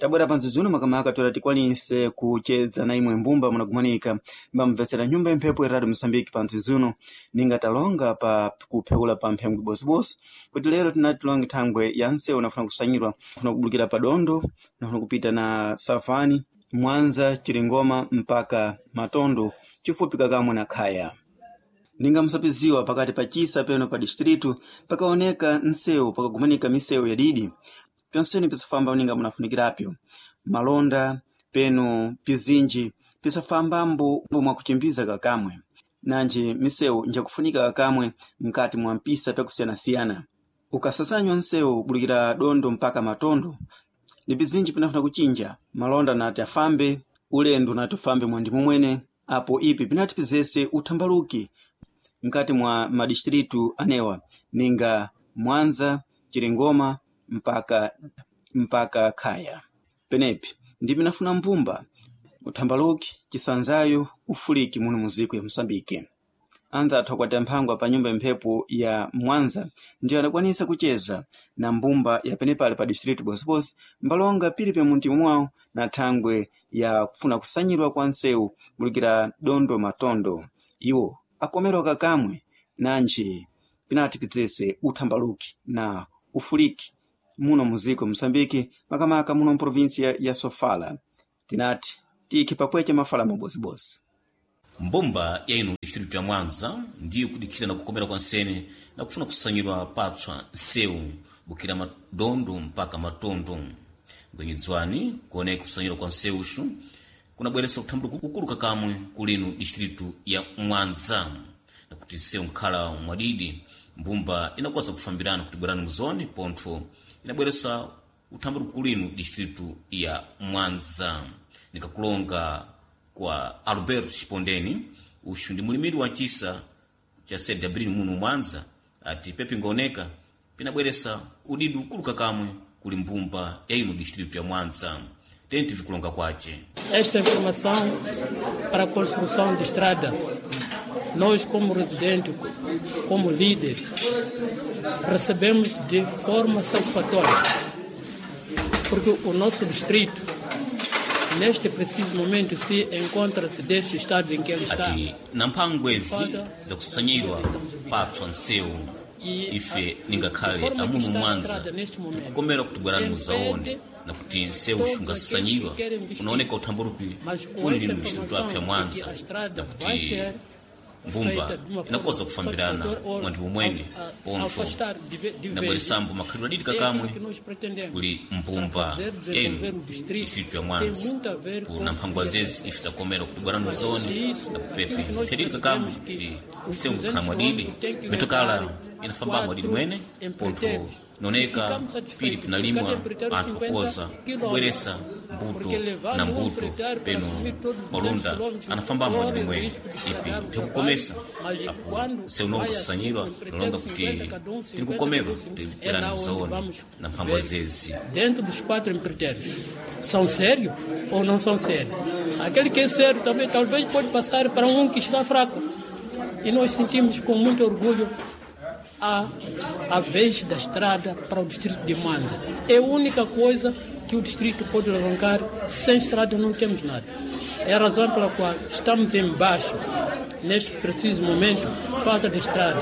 Tabwera pandzidzuno makamaka toera tikwanise kuchedza na imwe mbumba munagumanika mbamvetsera nyumba imphepo ya Radio Mosambiki pandzidzuno ninga talonga pa kupheula pa mphembwe bosibosi kuti lero tinati tilonge thangwe ya nsewu nafuna kusanyirwa nafuna kubulukira pa dondo nafuna kupita na savani Mwanza Chiringoma mpaka Matondo chifupi kakamwe na Khaya ninga msapiziwa pakati pa chisa peno pa distritu pakaoneka nsewu pakagumanika misewu yadidi pyonsene pisafamba ninga munafunikirapyo malonda peno pizinji pisafambambo mwakuchimbiza kakamwe nanji misewu njakufunika kakamwe mkati mwa mpisa pyakusiyanasiyana ukasasanywa nsewu bulukira dondo mpaka matondo ni pizinji pinafuna kuchinja malonda nati afambe ulendo nati ufambe mwandimu mwene apo ipi pinati pizese uthambaluki mkati mwa madistritu anewa ninga Mwanza Chiringoma mpaka Khaya penepi ndi pinafuna mbumba uthambaluki chisanzayo ufuliki muno muziko ya Mosambike anza athu akwati mphangwa pa nyumba imphepo ya Mwanza ndiyo adakwanisa kucheza na mbumba ya penepale pa distritu bosibosi mbalonga pili pe muntima mwawo na thangwe ya kufuna kusanyirwa kwa nsewu mulukira dondo matondo iwo akomerwa kakamwe nanji pinati pidzese uthambaluki na ufuliki muno muziko Mosambiki makamaka muno mprovinsia ya Sofala tinati tikhi pakweche mafala mabosibosi. Mbumba ya ino distritu ya Mwanza ndiyo kudikhira na kukomera kwa nsene na kufuna kusanyirwa patswa nsewu bukira madondo mpaka matondo ngwenyedzwani kuoneka kusanyirwa kwa nsewuxu kunabweresa kuthambulo kukulu kakamwe kulino distritu ya Mwanza nakuti nsewu nkhala mwadidi mbumba inakoza kufambirana kuti bwerani muzoni pontho inabweresa uthambulo kulino distritu ya Mwanza nikakulonga kwa Alberto Chipondeni uxu ndi mulimiri wa chisa cha CW muno Mwanza ati pepi ngooneka pinabweresa udidi ukulu kakamwe kuli mbumba ya ino distritu ya Mwanza tentivi kulonga kwace. Esta informação para a construção de estrada, nós como residente, como líder, recebemos de forma satisfatória, porque o nosso distrito neste preciso momento se encontra-se deste estado em que ele está. Ati na mphangwezi zakusanyirwa patswa nsewu ife ningakhale amuno Mwanza tikukomera kuti bwerani muzaone na kuti nsewu xungasanyirwa unaoneka uthambalupi uli lino distritu apya Mwanza na kuti mbumba inakoza kufambirana mwandimu mwene pontho inabweresambo makhalidwe adidi kakamwe kuli mbumba enu distritu ya Mwanza kuna mphangwa zezi ife takomera kuti bwerani muzone na kupepe thadidi kakamwe kuti nsewu ngakhala mwadidi mitokala inafamba mwadidi mwene pontho noneka pili pinalimwa anthu akukoza kubweresa mbuto na mbuto peno malunda anafamba mwadidi mwene ipi pyakukomesa apo seunonga kusanyirwa nalonga kuti tiri kukomerwa kuti bwerani muzaone na mphangwa zezi. Dentro dos quatro empreiteiros, são sérios ou não são sérios? Aquele que é sério também talvez pode passar para um que está fraco. E nós sentimos com muito orgulho a vez da estrada para o distrito de Mwanza. É a única coisa que o distrito pode levantar. Sem estrada não temos nada. É a razão pela qual estamos embaixo, neste preciso momento, falta de estrada.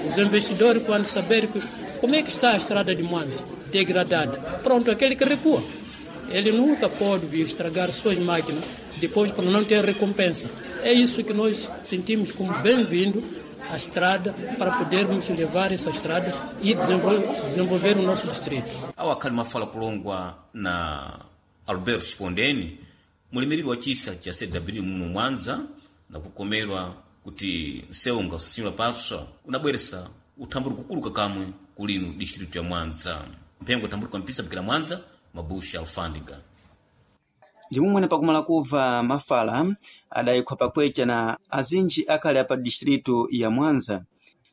Os investidores, quando saberem que, como é que está a estrada de Mwanza, degradada, pronto, aquele que recua. Ele nunca pode vir estragar suas máquinas depois para não ter recompensa. É isso que nós sentimos como bem-vindo a estrada para podermos levar essa estrada e desenvolver o nosso distrito. Awo akhali mafala kulongwa na Alberto Chipondeni mulimiriri wa chisa cha CW muno Mwanza na kukomerwa kuti nsewu ngasusinyirwa patswa unabweresa uthambuli kukulu kakamwe kulino distritu ya Mwanza mphengo uthambuli mpisa bukira Mwanza Mabusha Alfandiga. Ndimumwene pakumala kuva mafala adayikhwa pakwecha na azinji akhale apa distritu ya Mwanza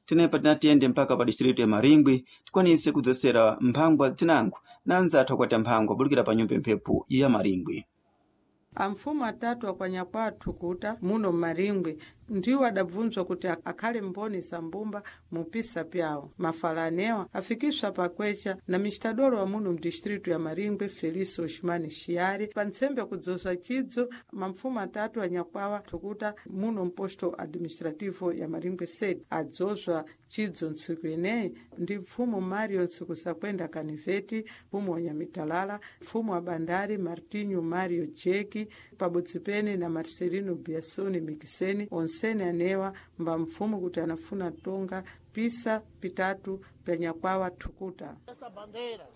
tenepa tinatiyende mpaka pa distritu ya Maringwi tikwanise kudzesera mphangwa zinango na anzathu akwati mphangwa bulukira pa nyumba imphepo ya Maringwi. Amfumu atatu akwanya kwathu kuta muno mmaringwi Ndiwo adabvunzwa kuti akhale mboni za mbumba mupisa pyawo. Mafala anewa afikiswa pakwecha na mistadolo wa muno mdistritu ya Maringwe Felício Osmani Chiari pa ntsembe kudzozwa chidzo mapfumo atatu anyakwawa thukuta muno mposto administrativo ya Maringwe sede adzozwa chidzo ntsiku ineyi ndi mfumu Mario Ntsikusakwenda Kaniveti, mfumu wa Nyamitalala, mfumu wa Bandari Martinho Mario Jeki pabodzi pene na Marcelino Biasoni Mikiseni. Onsene anewa mba mfumu kuti anafuna tonga pisa pitatu pya thukuta. Essa bandeira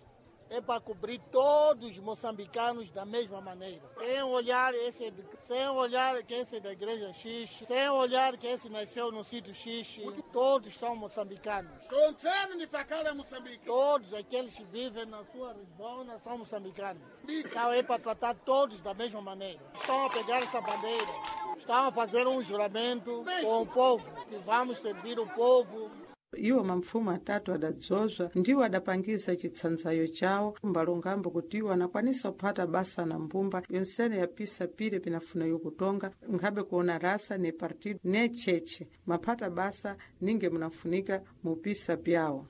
é para cobrir todos os moçambicanos da mesma maneira. Sem olhar esse, sem olhar que esse é da igreja X, sem olhar que esse nasceu no sítio X, todos são moçambicanos. Todos aqueles que vivem na sua zona são moçambicanos. Então é para tratar todos da mesma maneira. Estão a pegar essa bandeira, estão a fazer um juramento com o povo, que vamos servir o povo. Iwo mapfumo atatu adadzozwa ndiwo adapangisa chitsanzayo chawo mbalongambo kuti iwo anakwanisa kuphata basa na mbumba yonsene yapisa pire pinafuna yokutonga nkhabe kuona rasa ne partido ne cheche maphata basa ninge munafunika mupisa pyawo.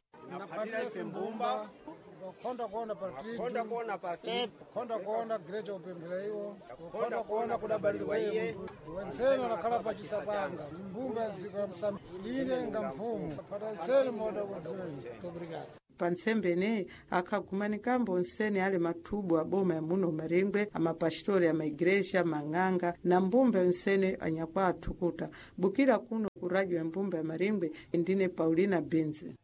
Konda kuona partido, konda kuona greja upemphera iwo, konda kuona kudabalirwa iye wensene anakhala pachisapanga mbumba ya dziko la Msambiki ine nga mfumu pata nsene moda kudziweni. Obrigado. Pa ntsembe ineyi akhagumanikambo onsene ali mathubu a boma ya muno Maringwe, amapastori amaigreja, mang'anga na mbumba yonsene anyakwa athukuta. Bukira kuno ku radio ya mbumba ya Maringwe, ndine Paulina Binzi.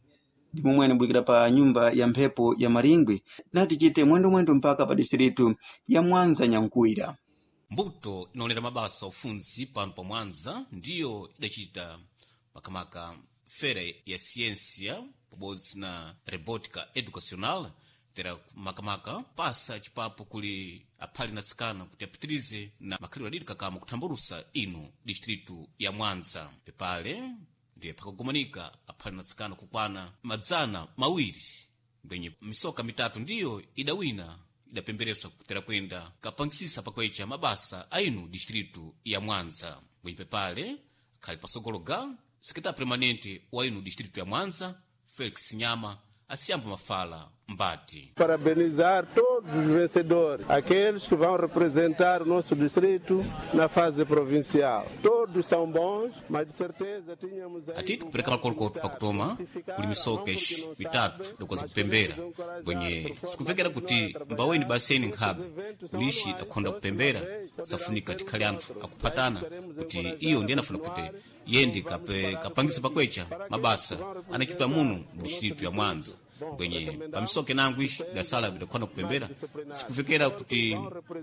Ndi momwe anabwikira pa nyumba ya mphepo ya Maringwe nati chite mwendomwendo mpaka pa distritu ya Mwanza Nyankuwira. Mbuto inaonera mabasa ufunzi pano pa Mwanza ndiyo idacita makamaka fera ya ciência pabodzi na robótica educacional tera makamaka pasa chipapo kuli aphali na tsikana kuti apitirize na makhalidwe adidi kakama kuthambalusa ino distritu ya Mwanza. Pepale ndiye pakagumanika aphali na tsikana kukwana 200 ngwenye misoka mitatu ndiyo idawina idapembereswa kutera kwenda kapangisisa pakwecha mabasa ainu distritu ya Mwanza. Ngwenye pepale akhali pasogolo ga sekretari permanente wa inu distritu ya Mwanza Felix Nyama asiyamba mafala mbati. Parabenizar todos os vencedores, aqueles que vão representar o nosso distrito na fase provincial. Todos são bons, mas de certeza tínhamos aí. Atiti kupereka makolokoto pakutoma kuli misoka ixi mitatu dakuwaza kupembera bwenye sikuvekera kuti mbaweni baseni nkhabe kulixi dakhonda kupembera safunika tikhale anthu akuphatana kuti iyo ndiye anafuna kuti yende kapangisa pakwecha mabasa anachitwa muno mu distritu ya Mwanza. Bwenye pamisoke nangu ixi idasala idakhona kupembera sikuvekera kuti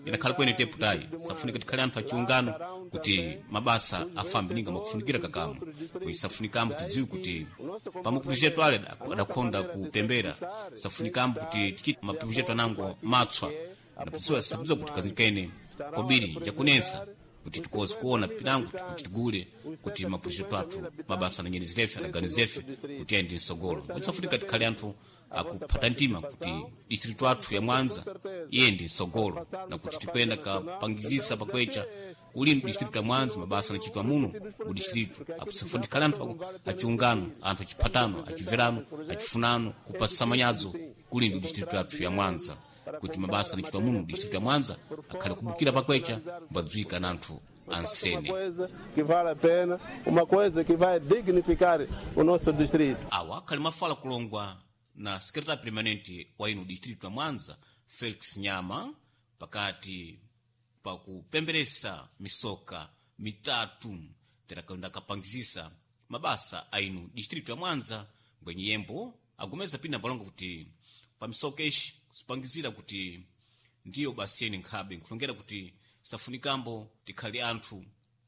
idakhala kwene teputayi safunika tikhale anthu achiungano kuti mabasa afambe ninga makufunikira kakamwe. Bwenye safunikambo tidziwe kuti pamapurujetu ale adakhonda kupembera safunikambo kuti tichite mapurujetu anango matswa adapuziwa sapuziwa kuti kazikene kobiri njakunensa kuti tikoze kuona pinango kuti tigule kuti mapurujetu athu mabasa ananyenizirefe adaganizefe kuti ayende msogolo. Safunika tikhale anthu akuphata mtima kuti distritu athu ya Mwanza iyende msogolo na kuti tikwenda kapangizisa pakwecha kuli distritu ya Mwanza mabasa anachitwa muno mu distritu apo tikhale anthu achiungano anthu achiphatano achiverano achifunano kupasa manyazo kuli ndi distritu athu ya Mwanza kuti mabasa anachitwa muno mu distritu ya Mwanza akhale kubukira pakwecha mbadzwika na anthu ansene. Coisa que vale a pena, uma coisa que vai dignificar o nosso distrito. Awa akhali mafala kulongwa na sekretari permanente wa ino distritu ya Mwanza Felix Nyama pakati pakupemberesa misoka mitatu terakenda kapangizisa mabasa ainu distritu ya Mwanza ngwenye yembo agomeza pina palonga kuti pamisoka ixi kusipangizira kuti ndiyo basi yene nkhabe nkulongera kuti safunikambo tikhale anthu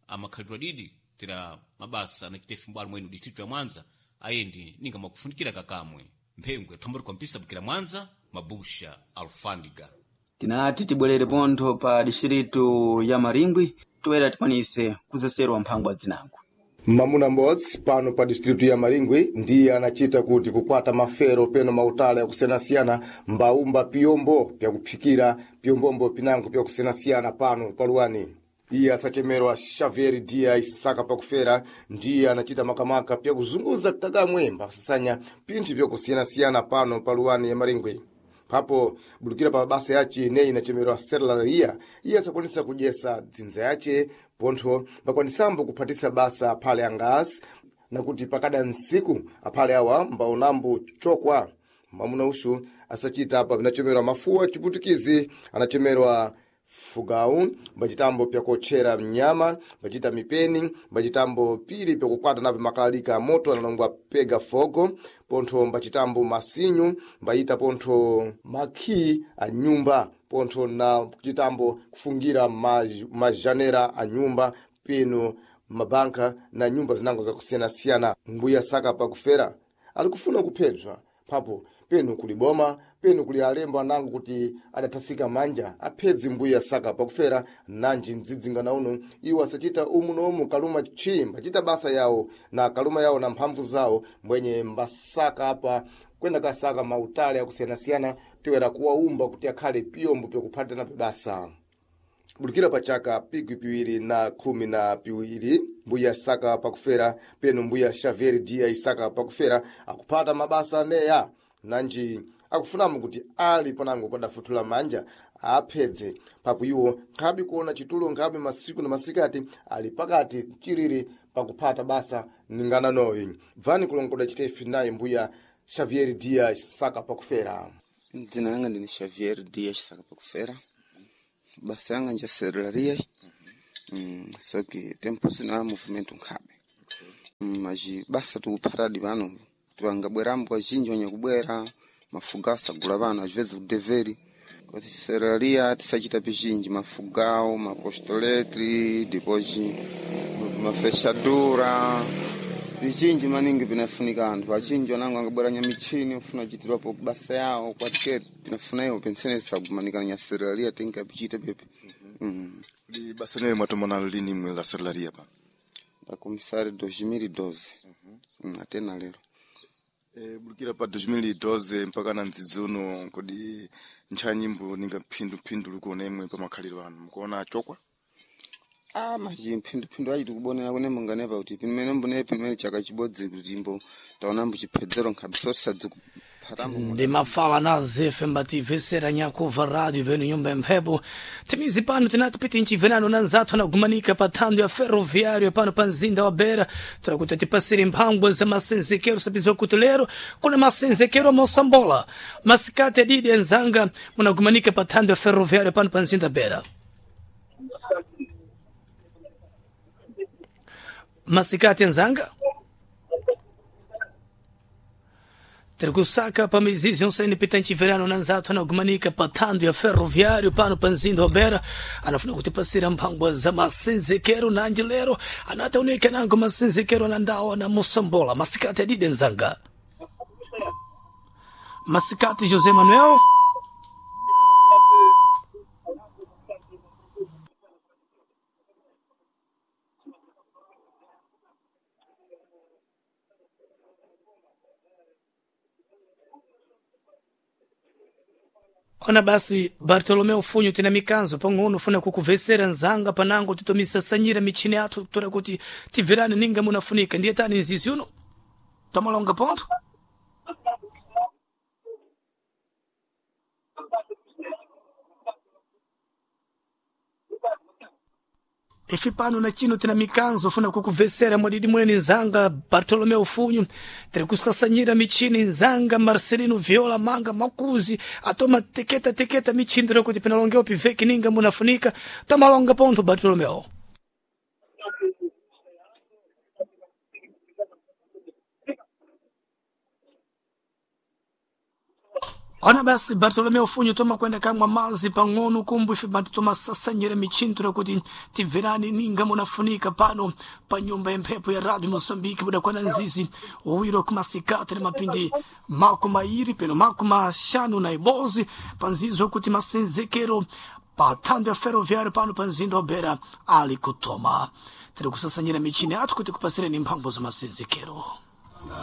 amakhalidwe adidi tera mabasa anachita mbwalo mwenu distritu ya Mwanza ayendi ninga makufunikira kakamwe mphengwe thomboli kwampisa bukira Mwanza mabusha alfandiga. Tinati tibwerere pontho pa distritu ya Maringwi toera tikwanise kuzeserwa mphangwa dzinango. Mamuna m'bodzi pano pa distritu ya Maringwi ndiye anachita kuti kukwata mafero peno mautala yakusiyanasiyana mbaumba piyombo pyakuphikira piyombombo pinango pyakusiyanasiyana pano paluwani. Iye asachemerwa Xavier Dias Saka pakufera ndiye anachita makamaka pya kuzunguza kakamwe mbasasanya pinthu byakusiyanasiyana pano pa luwani ya Maringwe. Papo bulukira pa basa yace ineyi inachemerwa Serlaria, iye asakwanisa kudyesa dzinza yace pontho mbakwanisambo kuphatisa basa aphale angasi nakuti pakada nsiku aphale awa mbaonambo chokwa. Mwamuna uxu asachita apa binachemerwa mafuwa chiputikizi anachemerwa fugau mbacitambo pyakotchera mnyama mbacita mipeni mbacitambo pili pyakukwata napo makalalika a moto analongwa pega fogo pontho mbacitambo masinyu mbayita pontho makhi a nyumba pontho na kucitambo kufungira majanera a nyumba peno mabanka na nyumba zinango zakusiyanasiyana. Mbuya Saka pakufera ali kufuna kuphedzwa papo penu kuli boma penu kuli alembo anango kuti adathasika manja aphedzi mbuya Saka pakufera nanji mdzidzingana uno iwo asachita umu nomu kaluma tchi mbachita basa yawo na kaluma yawo na mphamvu zawo mbwenye mbasaka apa kwenda kasaka mautale akusiyanasiyana tiwera kuwaumba kuti akhale piyombo pyakuphatana basa. Bulukira pa chaka pikwi piwiri na khumi na piwiri mbuya Saka pakufera penu mbuya Xavier Dias Saka pakufera akuphata mabasa aneya nanji akufunamo kuti ali panango kwadafuthula manja aphedze papo iwo nkhabe kuona chitulo nkhabe masiku na masikati ali pakati chiriri pakuphata basa ningana noyi. Bvani kulongoda chitefi naye mbuya Xavier Dias Saka pakufera. Dzina langa ndini Xavier Dias Saka pakufera. Basa yanga nja serraria. Só que tempo sina movimento nkhabe. Mas basa tikuphatadi pano tiwangabwerambo azhinji wanyakubwera mafuga asagula pano às vezes kudeveri kasi serraria tisachita pizhinji mafugao mapostoletri depois mafechadura pizhinji maningi pinafunika anthu achinji wanango angabwera nyamichini ofuna achitirwapo basa yawo kwatike pinafuna iwo pensene tisagumanikana nya serraria tinkapichita pepe. Ndi basa neyo mwatomana lini mwe la serraria pa ndakomisari 2012. Atena lero. Bulukira pa 2012 mpaka na mdzidzi uno kodi ntchanyimbo ninga phindu likuona imwe pa makhaliro anu mukuona chokwa? Maji mphinduphindu ayi tikubonera kune munganepa kuti pimene mbune pimene chaka chibodzi kuti mbo taonambo chiphedzero nkhabe sosadzikuphatamo. Ndi mafala na zefe mbativesera nyakuva rádio beno nyumba mphepo timizi pano tinati nchivenano na nzathu anagumanika pa thando ya ferroviário pano pa mzinda wa Beira tirakuti tipasire mphangwa za masenzekero sabizo kuti lero kuna masenzekero mosambola masikati adidi enzanga munagumanika pa thando ya ferroviário pano pa mzinda Beira. Masikati enzanga Terkusaka pa mizizi onse pitanchi verano nanzathu anagumanika pa thando ya ferroviário pano pa mzinda wa Beira anafuna kutipasira mphangwa za masenzekero nanji lero anataoneka nango masenzekero na ndawa na mosambola. Masikati adide nzanga. Masikati José Manuel. Ona basi Bartolomeu Funho tina mikanzo pang'ono funa kukuvesera nzanga panango titomisasanyira michini yathu kutora kuti tibverane ninga munafunika ndiye tani nzizi uno tamalonga pontho. Ifi pano na chino tina mikanzo funa kukuvesera mwadidi mwene nzanga Bartolomeu Funho tiri kusasanyira michini nzanga Marcelino Viola manga makuzi atoma teketa teketa michini tiri kuti pinalongeo piveki ninga munafunika tamalonga pontho Bartolomeu. Ona basi Bartolomeu Funho toma kwenda kamwa mazi pang'ono kumbu ife bantu tomasasanyira michini kuti tibverani ninga munafunika pano pa nyumba yemphepo ya Radio Moçambique budakwana nzizi uwiro kumasikati na mapindi mako mairi peno mako maxanu na ibozi pa nzizi wakuti masenzekero pa thando ya ferroviário pano pa mzinda wa Beira ali kutoma tiri kusasanyira michini athu kuti kupasireni mphambo za masenzekero.